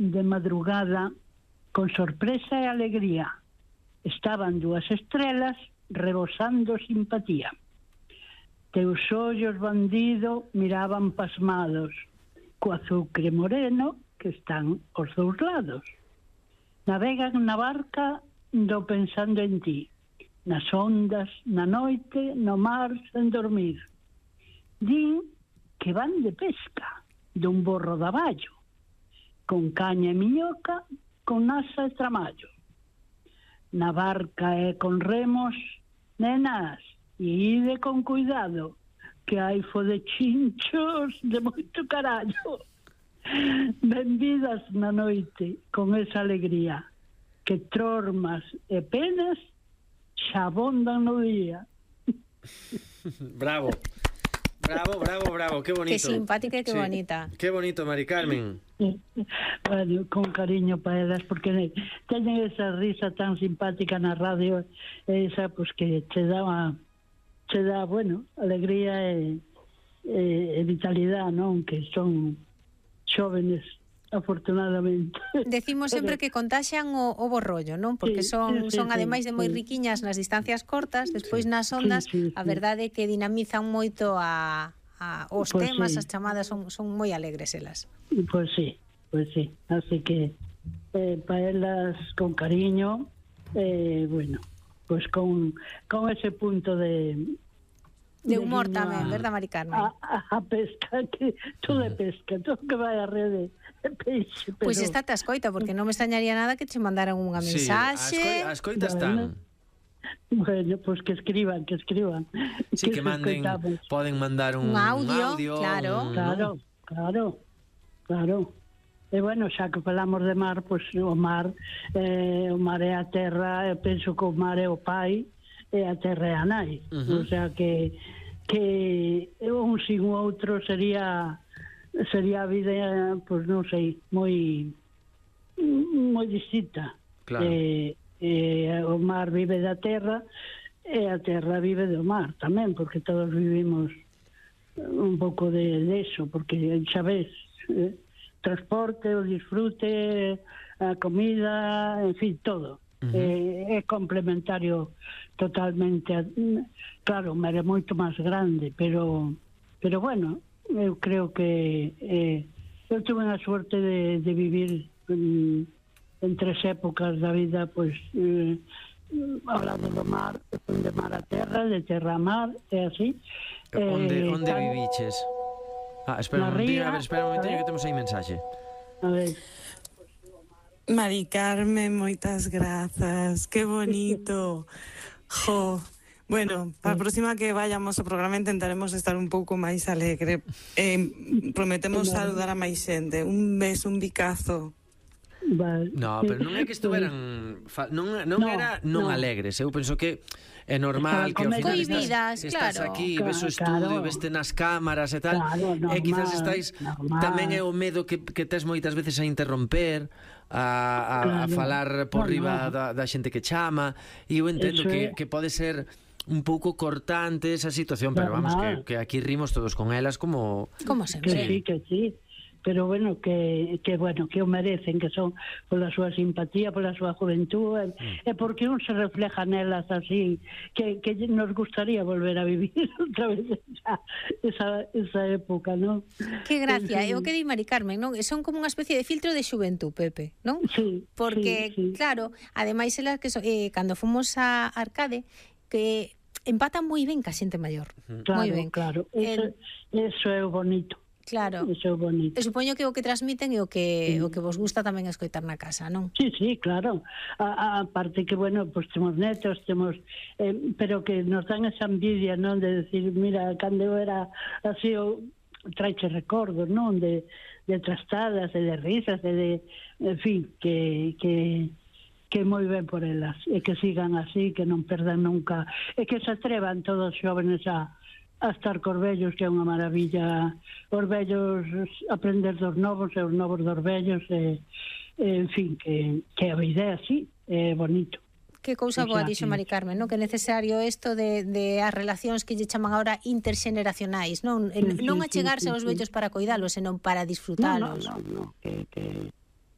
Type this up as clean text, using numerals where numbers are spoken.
de madrugada, con sorpresa e alegría. Estaban 2 estrelas rebosando simpatía. Teus ollos, bandido, miraban pasmados, co azucre moreno que están aos 2 lados. Navegan na barca do pensando en ti, nas ondas, na noite, no mar, sen dormir. Din que van de pesca, dun borro de aballo, con caña e miñoca, con asa e tramallo. Na barca e con remos, nenas, e ide con cuidado, que hai fo de chinchos de moito carallo. Benvidas na noite, con esa alegría, que trormas e penas xa abondan no día. Bravo. Bravo, qué bonito. Qué simpática y qué bonita. Qué bonito, Mari Carmen. Bueno, con cariño para elas, porque teñen esa risa tan simpática na radio, esa, pues que te dá, bueno, alegría e vitalidad, non? Que son xóvenes, afortunadamente. Decimos sempre que contaxian o borrollo, non? Porque son ademais de moi riquiñas nas distancias cortas, despois nas ondas, a verdade é que dinamizan moito os temas, as chamadas son moi alegres elas. Pois sí. Así que para elas con cariño, bueno, pues con ese punto de humor tamén, verdad, Mari Carmen? A pesca, que todo é pesca, todo que vai a rede é peixe. Pois está te escoita, porque non me extrañaría nada que che mandaran unha mensaxe. As coitas están. Bueno, pues que escriban. Sí, que manden, poden mandar un audio. Claro. E bueno, xa que falamos de mar, pues o mar é a terra, eu penso que o mar é o pai, e a terra é a nai. O sea que un sin o outro sería a vida, pues non sei, moi distinta. Claro. O mar vive da terra e a terra vive do mar tamén, porque todos vivimos un pouco de eso, porque xa ves, transporte, o disfrute, a comida, en fin, todo. É complementario totalmente. Claro, o mar é moito máis grande, pero bueno, eu creo que eu tuve a suerte de vivir en 3 épocas da vida, pois hablando do mar, de mar a terra, de terra a mar, é así. Onde viviches? Espera un momentinho que temos aí mensaxe. A ver. Mari Carmen, moitas grazas, que bonito. Jo, bueno, para a próxima que vayamos ao programa intentaremos estar un pouco máis alegre. Prometemos saludar a máis xente. Un beso, un bicazo. Vale. No, pero non é que estuveran non alegres. Eu penso que é normal que ao final estás aquí, ves o estudio, veste nas cámaras e tal, e quizás estáis tamén é o medo que tes moitas veces a interromper, a falar por riba da xente que chama, e eu entendo que pode ser un pouco cortante esa situación, pero vamos, que aquí rimos todos con elas como sempre. Que sí. Pero bueno, que o merecen, que son pola súa simpatía, pola súa juventud, e porque un se refleja nelas así, que nos gustaría volver a vivir outra vez esa época, non? Que gracia, é o que di Mari Carmen, non? Son como unha especie de filtro de xuventud, Pepe, non? Sí. Porque, claro, ademais elas que cando fomos a Arcade, que empatan moi ben ca xente maior. Moi ben. Claro, eso é o bonito. Claro. Eso é bonito. E supoño que o que transmiten é o que vos gusta tamén escoitar na casa, non? Sí, claro. A parte que, bueno, pues temos netos, pero que nos dan esa envidia, non? De decir, mira, cando eu era así, traiche recordos, non? De trastadas, e de risas, en fin, que moi ben por elas, e que sigan así, que non perdan nunca, e que se atrevan todos os xóvenes a estar cos vellos, que é unha maravilla. Os vellos aprender dos novos, e os novos dos vellos, en fin, que a vida é así, é bonito. Que cousa boa dixo Mari Carmen, non? Que é necesario isto de as relacións que lle chaman agora interxeneracionais, non? Non achegarse aos vellos para coidalos, senón para disfrutalos. No,